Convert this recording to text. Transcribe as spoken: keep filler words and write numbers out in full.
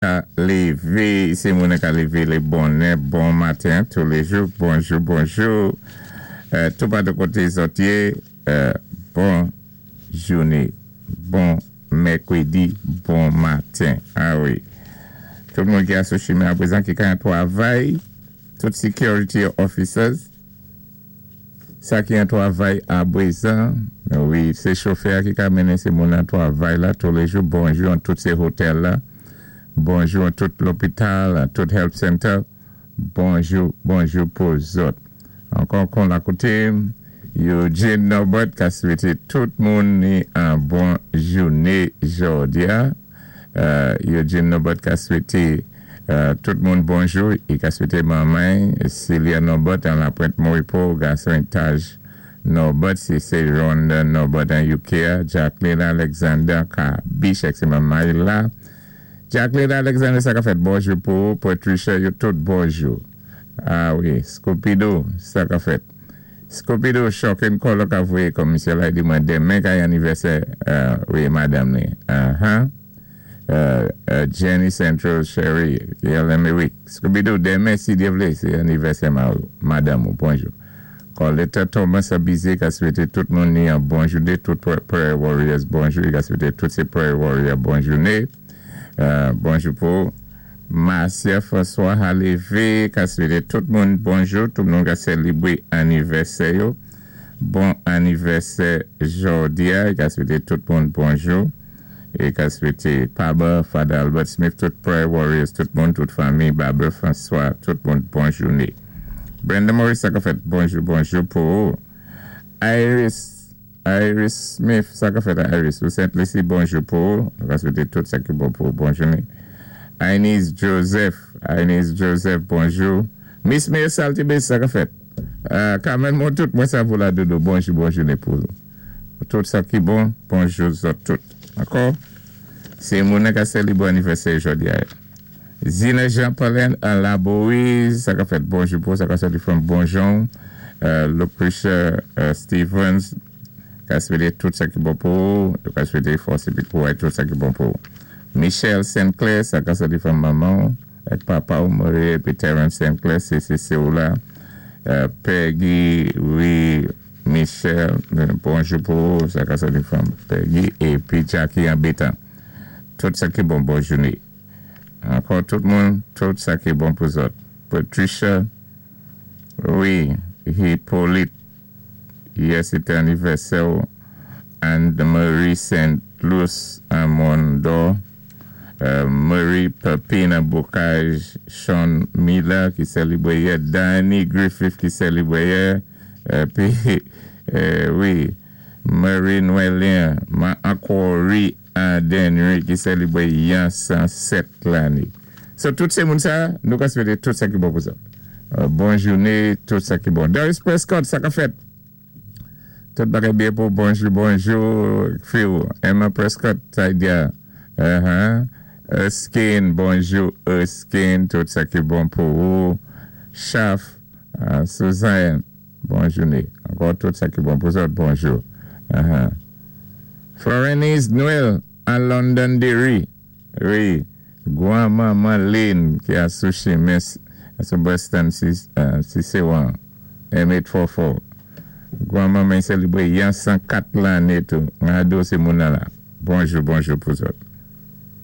Lévé, sé moun ka lévé lé bonnè, bon maten touléjou, bonjou, bonjou. Euh, tou patou koté zòt yé, euh, bon jouné, bon mèkwédi, bon maten. Ah wi. Tout moun ki asou chimen apwézan ki ka an twavay, tout security officers, sa ki an twavay apwézan, wi, sé chofè ki ka mennen sé moun an twavay la touléjou, bonjou an tout sé hotèl la. Bonjou an tout lopital, an tout health center. Bonjou, bonjou pou zòt. Ankò kon la koté, Eugene Norbert ka swété tout moun ni an bon jouné jòdi-a. Euh, Eugene Norbert ka swété euh, tout moun bonjou. I ka swété manman, Celia Norbert an La Pointe Moripo, gason Taj Norbert, si sé Rhonda Norbert an U K, Jacqueline Alexander ka Bishek, sé manman la. Jacqueline Alexander, sa ka fèt, bonjou pou Patricia, yo tout bonjou. Ah wi, Scooby-Doo, sa ka fèt. Scooby-Doo, Shocking Color ka voyé kòm misyé la di mwen denmen ka anivèsè, euh, wi, madanm ni. Uh-huh. Euh, euh, Jenny Central Sherry, wi. Scooby-Doo, denmen, si Dye vlé, sé anivèsè ma, madanm ou, bonjou. Coletta Thomas Abizé ka swété tout moun ni an bon jouné, tout Prayer Warriors bonjou, i ka swété tout sé Prayer Warriors bon jouné. Euh, bonjou pou Marcia François Halévé, ka swété tout moun bonjou, tout moun ka sélébwé anivèsè yo. Bon anivèsè jòdi-a, ka swété tout moun bonjou. É ka swété Paba, Father Albert Smith, tout Prayer Warriors, tout moun, tout fanmi, Barbara François, tout moun bon jouné. Brenda Morris, sa ka fèt, bonjou, bonjou pou Iris Iris Smith, sa ka fèt Iris, ou Saint Lucie, bonjou pou, ka swété tout sa ki bon pou, bon jouné. Inez Joseph, Inez Joseph, bonjou. Miss May Saltibé, sa ka fèt. Euh, Carmen Montout, mwen sa pou la dodo, bonjou, bon jouné pou. Tout sa ki bon, bonjou zòt tout. Ankò? Sé moun ka sélébwé anivèsè jòdi-a. Zina Jean-Paulin an Laborie, sa ka fèt, bonjou pou, sa ka sòti from Bonjon. Euh, Lucretia euh, Stevens, ka swété tout sa ki bon pou, ka swété fòs épi kouwè tout sa ki bon pou. Michel Sinclair, sa ka sòti from manman, ak papa ou Marie, épi Terence Sinclair, sé sé sé ou la. Euh, Peggy, wi, Michel, bonjou pou, sa ka sòti from Peggy, épi Jackie an Bétan. Tout sa ki bon, bon jouné. Ankò tout moun, tout sa ki bon pou zòt. Patricia, wi, Hippolyte, yè sété anivèsè Anne-Marie Saint Louis Amondo, euh, Marie Pepina Bocage, Sean Miller ki sélébwé yè, Danny Griffith ki sélébwé yè, épi, euh, wi, Marie Noëlien, ma ankò ri Denry ki sélébwé yè san sèt lanné. So, tout sé moun sa, nou ka swété tout sa ki bon pou sa. Euh, bon jouné, tout sa ki bon. Doris Prescott, sa ka fèt. Tout bagay byen pou bonjou, bonjou, Phil. Emma Prescott, sa di. Uh-huh. Erskine, bonjou, Erskine, tout sa ki bon pou ou. Chaf, uh, Suzanne, bon jouné. Ankò tout sa ki bon pou zòt, bonjou. Uh-huh. Florenise Noël, à Londonderry. Wi, gwan-manman Lynn, ki a sou chimen, sou Boston, si, uh, si sé wan, M eight four four. Gwan-manman sélébwé yon san kat lanné tou. Mwen ado sé moun la. Bonjou, bonjou pou zòt.